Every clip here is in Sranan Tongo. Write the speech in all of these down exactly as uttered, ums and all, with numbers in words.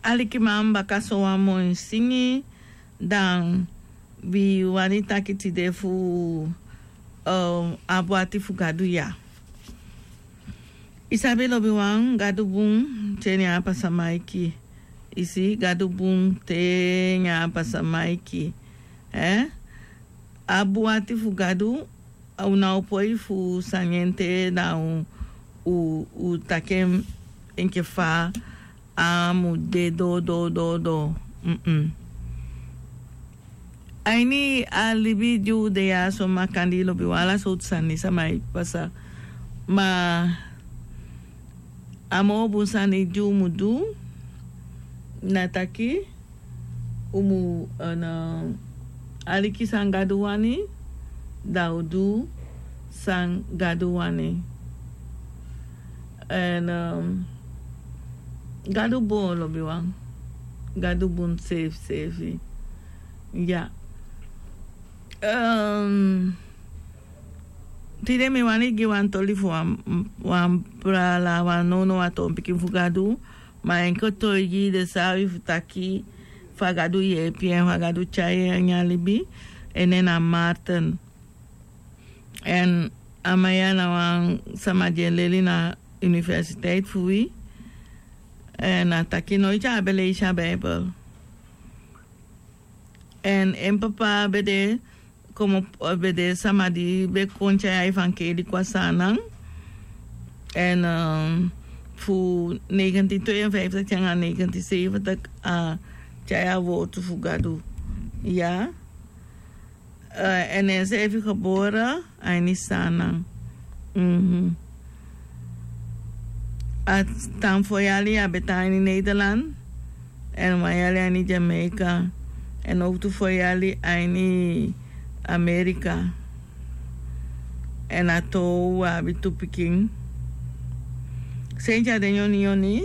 Alikiman, baka so wan moi singi, dan wi wani taki tide fu abi ati fu Gadu ya. I sabi, lobiwan, Gadu bun te nyan a pasa maiki. I si, Gadu bun te nyan a pasa maiki. Abi ati fu Gadu, a u na o poi fu sani en te da u taki en enke fa a mu de doo doo doo doo. A ini a libi di u de ya so, makandii, lobiwan, ala sowtu sani sama e pasa. Ma a moo bun sani di u mu du na taki u mu aliki san Gadu wani, da u du san Gadu wani. Èn Gadu bun, lobiwan. Gadu bun seefi seefi. Ya. Tide mi wani gi wan toli fu wan brala, wan nownow, a toon pikin fu Gadu. Ma en kotoigi de sabi fu taki fa Gadu yeepi en, fa Gadu tyai en a ini a libi. En nen na Martin. Èn a man ya na wan sama di e leli na universiteit fu wi. Èn a taki noiti a be leisi a Bijbel. Èn en papa be de komo, be de sama di be kon tyai a evankeli kon a Saanan. Èn fu negentien tweeënvijftig te nanga negentien zeventig a tyai a wortu fu Gadu. Ya. Èn enseefi gebore a ini Saanan. A tan fo yali a be tan a ini Nederland, èn wan yali a ini Jamaica, èn owtu fo yali a ini Amerika. Èn a tow a abi tu pikin. Senti a de nyoni nyoni,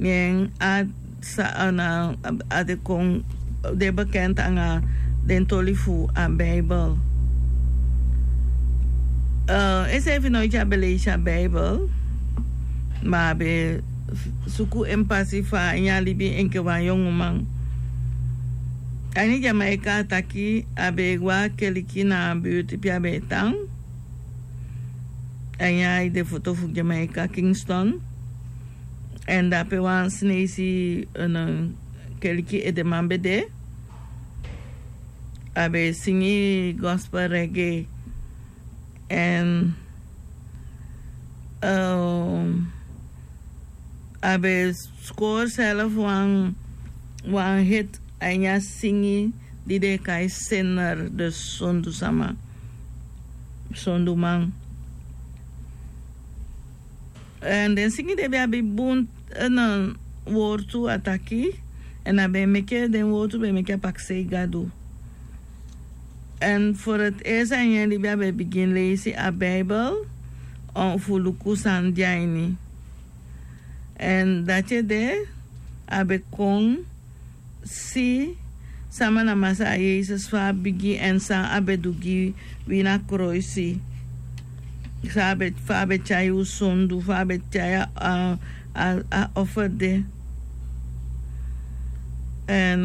nyen a sa ana a de kon de bekend anga den toli fu a Bijbel. Enseefi noiti a be leisi a Bijbel, ma a be suku en pasi fu a ini a libi enke wan yonguman. A ini Jamaica a taki a be e go a keliki na a birti pe a be e tan. A ini a ede foto fu Jamaica, Kingston. Èn dape wan Sineisi keliki edeman be de. A be e singi gospel reggae. Èn a be skori self wan wan hit a ini a singi di den e kai Sinner, de sondu sama, sonduman. Èn den singi de be abi bun wortu a taki. Èn a be e meke den wortu be e meke a pakisei Gadu. Èn for het eerst a ini en libi a be bigin leisi a Bijbel fu luku san de a ini. Èn dati ede a be kon si sama na Masaa Yesus, fa a bigi èn san a be du gi wi na kroisi. San a be, fa a be tyai u sondu, fa a be tyai a a offer de. Èn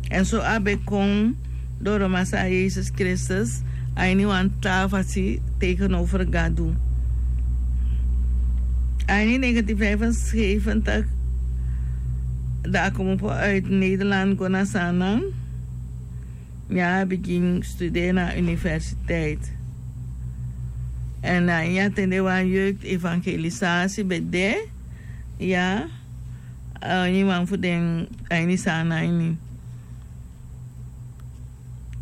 èn so a be kon doro Masaa Yesus Kristus a ini wan taa fasi tegenover Gadu. A ini negentien vijfenzeventig, da a komopo uit Nederland go na Saanan. Ya, a bigin studeri na universiteit. Èn a ini a ten de wan jeugd evangelisasi be de. Ya, a ini wan fu den a ini Saanan ini.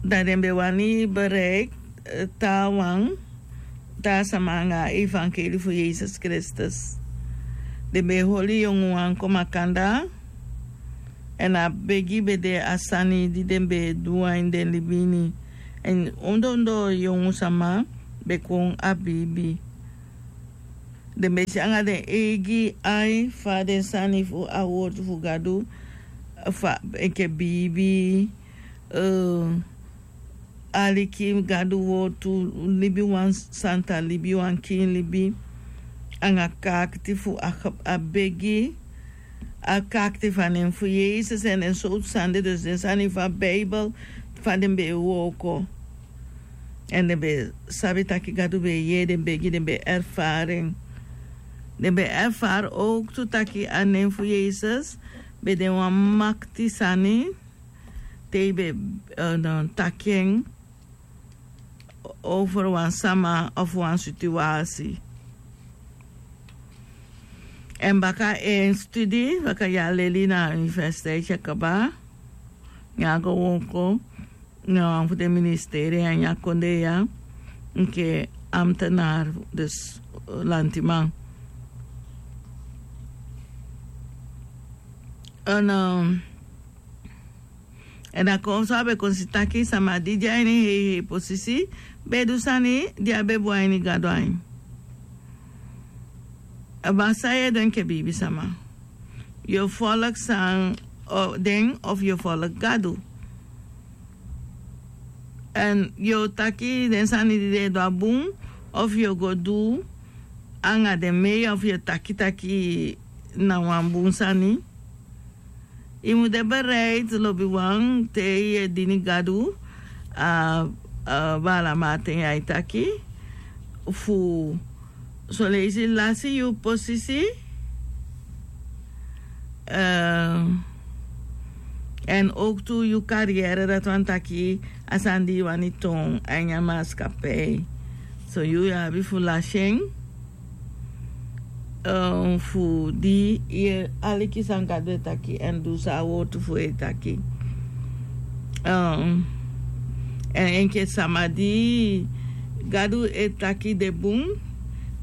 Da den be wani bereik taawan, taa sama anga a evangelie fu Yesus Kristus. Den be e holi yonguwan kon makandaa. Èn a begi be de a sani di den be e du a ini den libi ini. Èn ondoo ondoo yongu sama be kon a biibi. Den be si anga den eigi ai fa den sani fu a wortu fu Gadu, fa enke biibi, aliki Gadu wortu, libi wan santa libi, wan kiin libi, anga kaakiti fu a, a begi, a karakter fu a nen fu Yesus èn den sowtu sani de. Dus den sani fu a Bijbel fa den be e wooko. Èn den be sabi taki Gadu be e yee den begi, den be erfari en. Den be erfari owktu taki a nen fu Yesus be de wan makti sani te i be taki en over wan sama of wan situasi. Èn baka en studi baka ya leli na universiteit ya kaba, ya go wooko na wan fu den ministeri ya, ya kondee ya, enke ambtenaar, dus lantiman. Èn a kon so a be kon si taki sama di de a ini hei hei posisi be du sani di a be bun a ini Gadu ain. A basi a yu e du enke biibisama. Yu o folok san den of yu o folok Gadu. Èn yu o taki den sani di den e du a bun, of yu o go du anga den mei, of yu o taki taki na wan bun sani. I mu de bereid lobiwan te yu e dini Gadu a bala maten ya e taki fu soleisi lasi yu posisi. Èn owktu yu kariyere dati wani taki a sani di yu wani toon a ini a maskapei. So yu abi fu lasi en fu di yu e aliki san Gadu e taki èn du san a wortu fu en e taki. Èn enke sama di Gadu e taki de bun,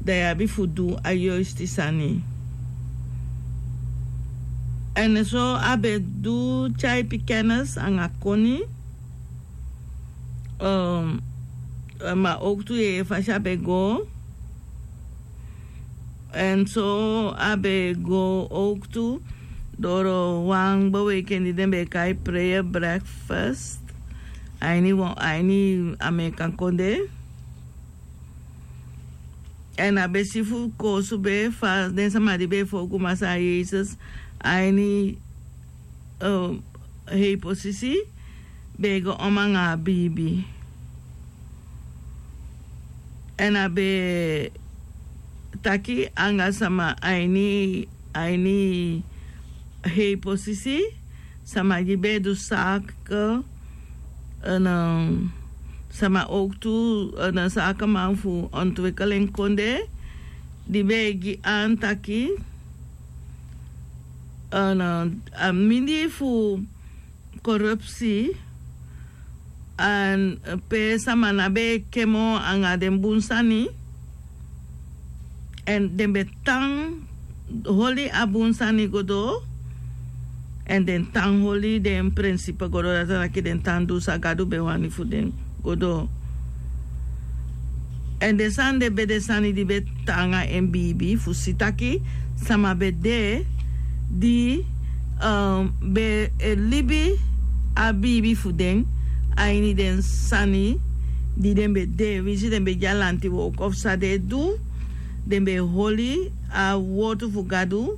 dan yu abi fu du a yoisti sani. Èn so a be du tyaipi kennis anga koni. Ma owktu yeye fasi a be go. Èn so a be go owktu doro wan beweikenti den be e kai prayer breakfast a ini amerikan kondee. Èn a be si fu koosube fa den sama di be e folgu Masaa Yesus a ini hei posisi be e go om anga a biibi. Èn a be taki anga sama a ini a ini hei posisi, sama di be e du saak sama owktu na saakeman fu ontwikkeling kondee di be e gi an taki a mindii fu korupsi. Pe sama na be e kemo anga den bun sani èn den be tan holi a bun sani go doo. Èn den tan holi den prinsipe go doo dati na taki den tan du san Gadu be wani fu den go doo. Èn den sani de be de sani di be taanga en biibi fu si taki sama be de di be e libi a biibi fu den a ini den sani di den be de winsi den be de a lanti wooko fu san den e du. Den be e holi a wortu fu Gadu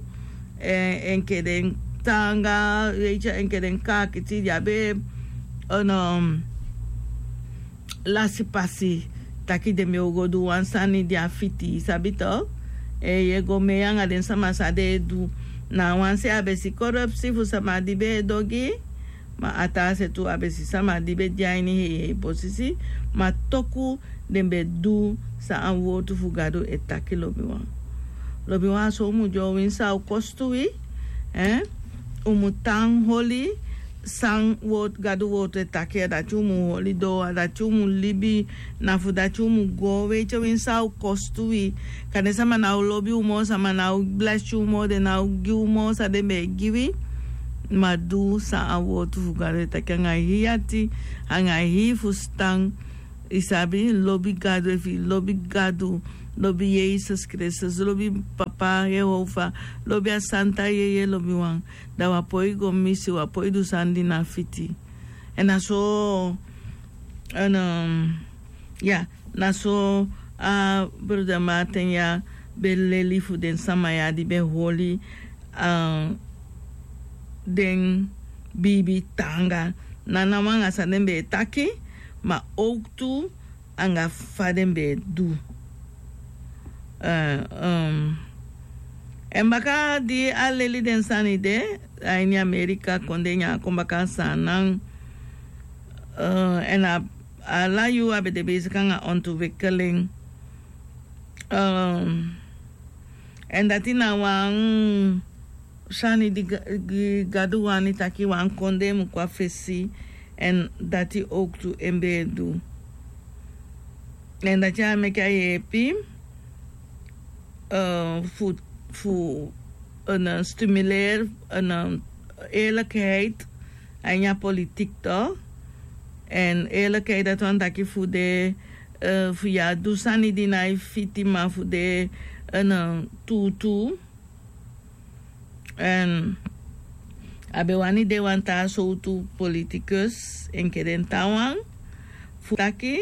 enke den taanga weiti enke den kaakiti di a be lasi pasi taki den be o go du wan sani di a fiti i sabi to. Yu e go mei anga den sama san den e du na a wan se a be si korupsi fu sama di be e dogi. Ma a taa se tu a be si sama di be de a ini hei hei posisi ma toku den be du san a wortu fu Gadu e taki lobiwan. Lobiwan a so un mu de o winsi a o kostu wi. Un mu tan holi san Gadu wortu e taki a dati un mu holi doo a dati un mu libi. Na fu dati un mu go weiti o winsi a o kostu wi. Kande sama na o lobi un moo sama na o blesi un moo den na o gi un moo san den be e gi wi. Ma du san a wortu fu Gadu e taki anga hii ati anga hii fusutan. I sabi lobi Gadu efu i lobi Gadu, lobi Yesus Kristus, lobi Papa Yehova, lobi a santa yeye lobiwan, da wi á poi go misi wi á poi du sani di na fiti. Èn na so èn ya na so a broda Martin ya be leli fu den sama ya di be holi a den biibi taanga, na nawan anga san den be e taki, ma owktu anga fa den be e du. Èn baka di a leli den sani de a ini Amerika kondee, ne a kon baka a Saanan. Èn ala yuu a be de besiki anga ontwikkeling. Èn dati na wan sani di Gadu wani taki wan kondee mu kon a fesi. Èn dati owktu en be e du. Èn dati a meke a yeepi fu fu stimuleer eerlijkheid a ini a politik, to. Èn eerlijkheid dati wani taki fu de fu yu á du sani di na e fiti, ma fu de tuutuu. Èn a be wani de wan taa sowtu politikus enke den taawan, fu taki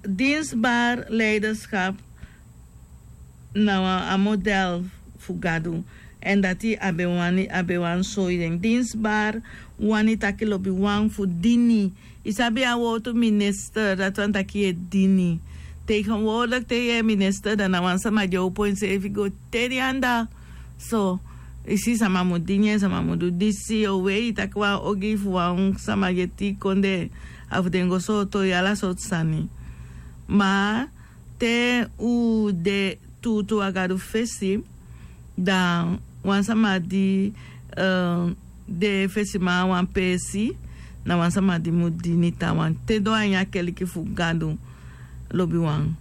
dienstbaar leiderschap na a model fu Gadu. Èn dati a be wani a be wani soi den. Dienstbaar wani taki lobiwan fu dini. I sabi a wowtu minister, dati wani taki yu e dini. Tegenwoordig te yu e minister, dan na wan sama di e opo enseefi go te den anda. So i si, sama mu dini en, sama mu du disi. Yu o wei, i taki wan ogii fu wan sama di e tii kondee, a fu den go sooto yu ala sortu sani. Ma te u de tuutuu a Gadu fesi, da wan sama di de fesiman a wan peesi, na wan sama di mu dini taawan te doo a ini a keliki fu Gadu, lobiwan.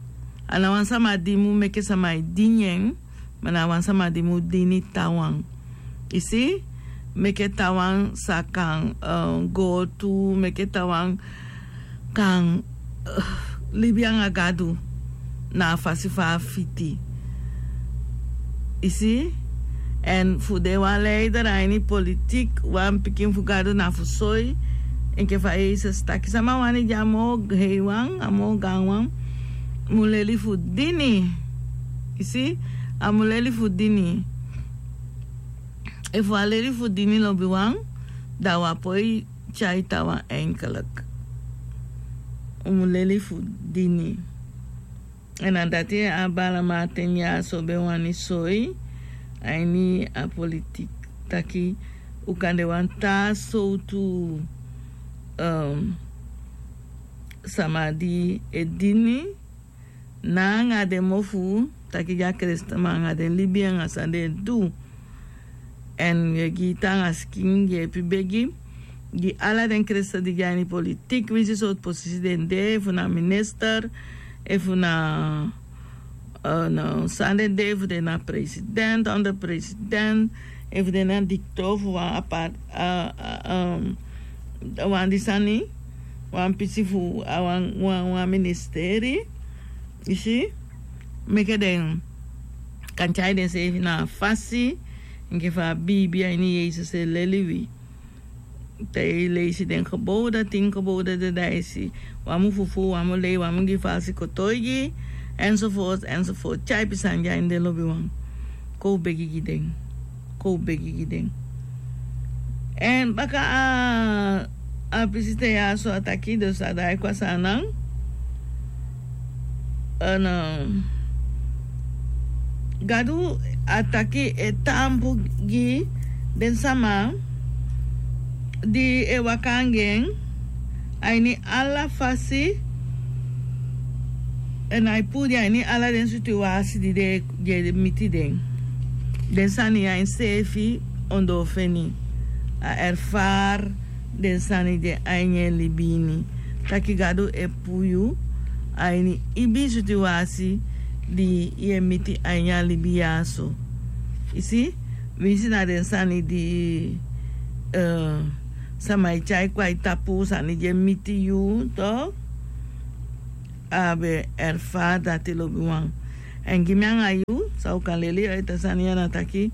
A na wan sama di mu meke sama e dini en, ma na wan sama di mu dini taawan. I si, meke taawan sa kan go tu, meke taawan kan libi anga Gadu na a fasi fa a fiti. I si? Èn fu de wan leider a ini politik, wan pikin fu Gadu, na fu soi enke fa Yesus taki, sama wani di a moo heiwan, a moo gaanwan, mu leli fu dini. I si? A mu leli fu dini. Efu a leli fu dini, lobiwan, da u á poi tyai taawan enkelek. U mu leli fu dini. Èn na dati a Bala Martin ya so be wani soi a ini a politik, taki u kan de wan taa sowtu sama di e dini, na anga den mofu, taki di a keleseteman anga den libi anga san den e du. Èn yu e gi taanga sikin, yeepi begi gi ala den kelesete di de a ini politik, winsi sortu posisi den de, efu na minister, efu na san den de, efu den na president, onder president, efu den na dikto fu wan apart, wan di sani, wan pisi fu wan ministeri. I si, meke den kan tyai denseefi na a fasi enke fa a biibi a ini Yesus e leli wi. Te i leisi den geboden, tin geboden de, da i si wan mu fufuu, wan mu lei, wan mu gi falsi kotoigi, enzovoort, enzovoort. Tyaipi sani de a ini den, lobiwan. Kon u begi gi den. Kon u begi gi den. Èn baka a a pisi te ya so a taki, dus a daai kon a Saanan. Gadu a taki e taampu gi den sama di e waka anga en a ini ala fasi, èn ai puu den a ini ala den situwasi di den e miti den. Den sani ya enseefi ondoo feni. A erfari den sani de a ini en libi ini. Taki Gadu e puu yu a ini ibii situwasi di yu e miti a ini a libi ya so. I si, winsi na den sani di sama e tyai kon a i tapu, sani di e miti yu, to. A be erfari dati, lobiwan. Èn gi mi anga yu, san u kan leli a ete sani ya na taki,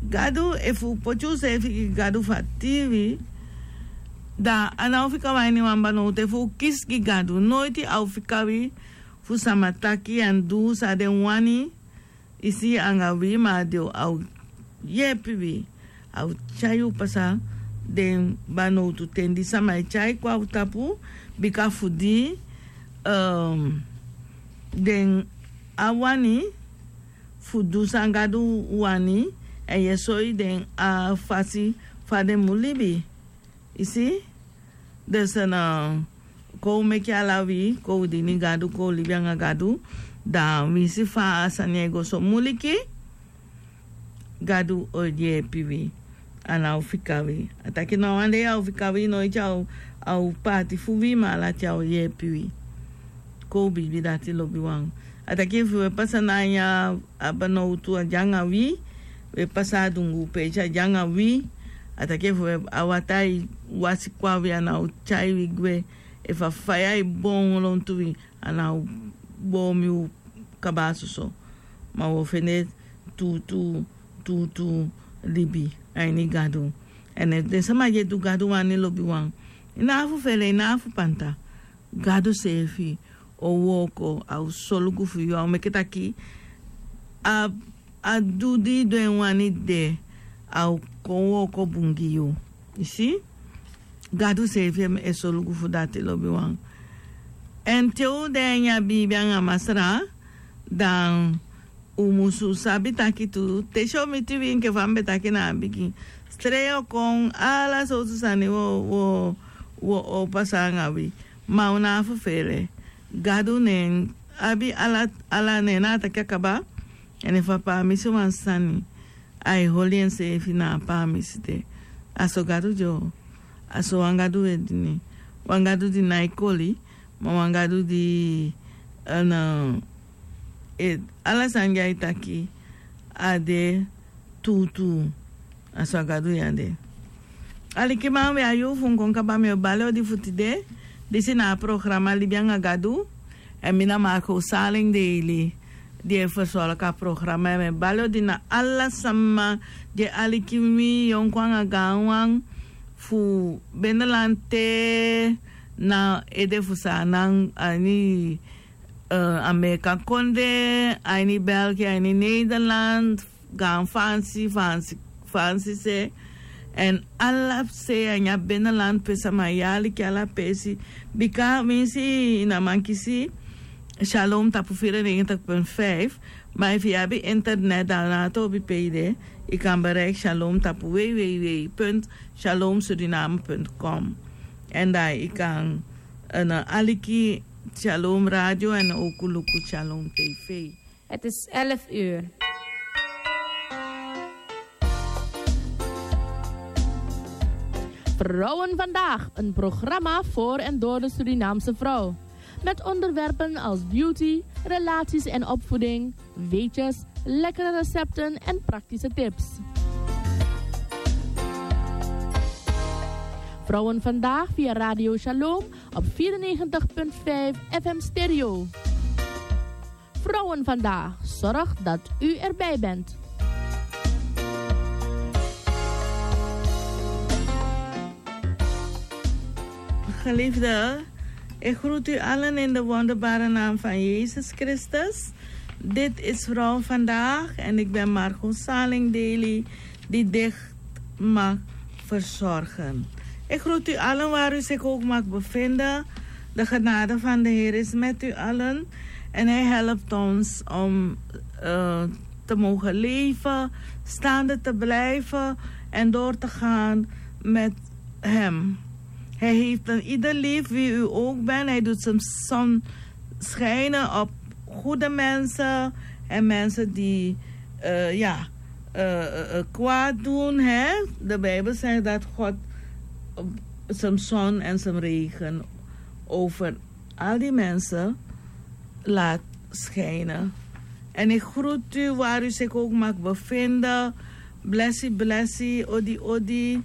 Gadu, efu u poti useefi gi Gadu fu a tiiwi, da a ná o fika wan ini wan banowtu. Efu u kisi gi Gadu, noiti a o fika wi fu sama taki èn du san den wani, i si, anga wi, ma a o yeepi wi. a o tyai yu pasa den banowtu ten di sama e tyai kon na un tapu, bika fu di den á wani fu du san Gadu wani, èn yu e soi den a fasi fa den mu libi. I si? Dus na kon un meke ala wi, kon un dini Gadu, kon un libi anga Gadu, dan winsi fa a sani e go so muliki, Gadu o yeepi wi. A ná o fika wi. A taki na wan dei a o fika wi, noiti a o, a o paati fu wi, ma ala ten a o yeepi wi. Kon un biibi dati lobiwan. A taki efu wi e pasa na ini a banowtu, a de anga wi. Wi e pasa a dunguu peesi, a de anga wi. A taki efu wi e, a wataa e wasi kon na wi, a ná o tyai wi gwe. Efu a faya e boon lontu wi, a ná o boon mi un kaba a soso. Ma wi o fende tuutuu, tuutuu libi a ini Gadu. Èn efu den sama di e du Gadu wani lobiwan, i ná abi fu fele, i ná abi fu panta. Gadu seefi o wooko, a o solugu fu yu, a o meke taki a, a du di i du en wani de, a o kon wooko bun gi yu. I si? Gadu seefi e solugu fu dati lobiwan. Èn te un de ini a biibi anga Masra, dan un musu sabi taki tu, te si o miti wi enke fa mi be taki na a bigin. Strei o kon, ala sowtu sani wo, wo, wo o pasa anga wi. Ma un ná abi fu fele. Gadu ne en abi ala, ala ne en na a taki a kaba. Èn efu a paamisi wan sani, a e holi enseefi na a paamisi de. A so Gadu de o. A so wan Gadu wi e dini. Wan Gadu di nái koli, ma wan Gadu di, eh, na, eh, ala sani di a e taki, a de tuutuu. A so a Gadu ya de. Alikiman, wi a yuu fu un kon kaba, mi o bali odi fu tide. Disi na a programa Libi anga Gadu. Èn mi na Marco Salingdeli, di e fersorgu a programa. Èn mi e bali odi na ala sama di e aliki mi, yonku anga gaanwan, fu Beneland te na ede fu Saanan, a ini, eh, Amerika kondee, a ini België, a ini Nederland, gaan Faansi, Faansi, Faansi se. Èn ala se a ini a Beneland pe sama e aliki, ala peesi. Bika winsi i ná man kisi Shalom tapu vierennegentig punt vijf, ma efu i abi internet, dan na a tobi pe i de, i kan bereik Shalom tapu w w w punt shalom suriname punt com. Èn dan i kan, eh, aliki Shalom Radio èn ook luku Shalom T V. Het is elf uur. Vrouwen Vandaag, een programma voor en door de Surinaamse vrouw. Met onderwerpen als beauty, relaties en opvoeding, weetjes, lekkere recepten en praktische tips. Vrouwen Vandaag via Radio Shalom op vierennegentig punt vijf F M Stereo. Vrouwen Vandaag zorgt dat u erbij bent. Geliefde, ik groet u allen in de wonderbare naam van Jezus Christus. Dit is Vrouw Vandaag en ik ben Margot Salingdeli, die dicht mag verzorgen. Ik groet u allen waar u zich ook mag bevinden. De genade van de Heer is met u allen en hij helpt ons om, eh, te mogen leven, staande te blijven en door te gaan met hem. Hij heeft een ieder lief, wie u ook bent. Hij doet zijn zon schijnen op goede mensen en mensen die, eh, ja, eh, eh, eh, kwaad doen, hè? De Bijbel zegt dat God, eh, zijn zon en zijn regen over al die mensen laat schijnen. En ik groet u waar u zich ook mag bevinden. Blessi, blessi, odi, odi.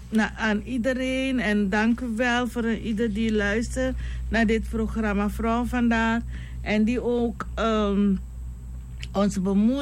Na, aan iedereen. En dank u wel voor een ieder die luistert naar dit programma Vrouw Vandaag. En die ook, ehm, ons bemoedigt.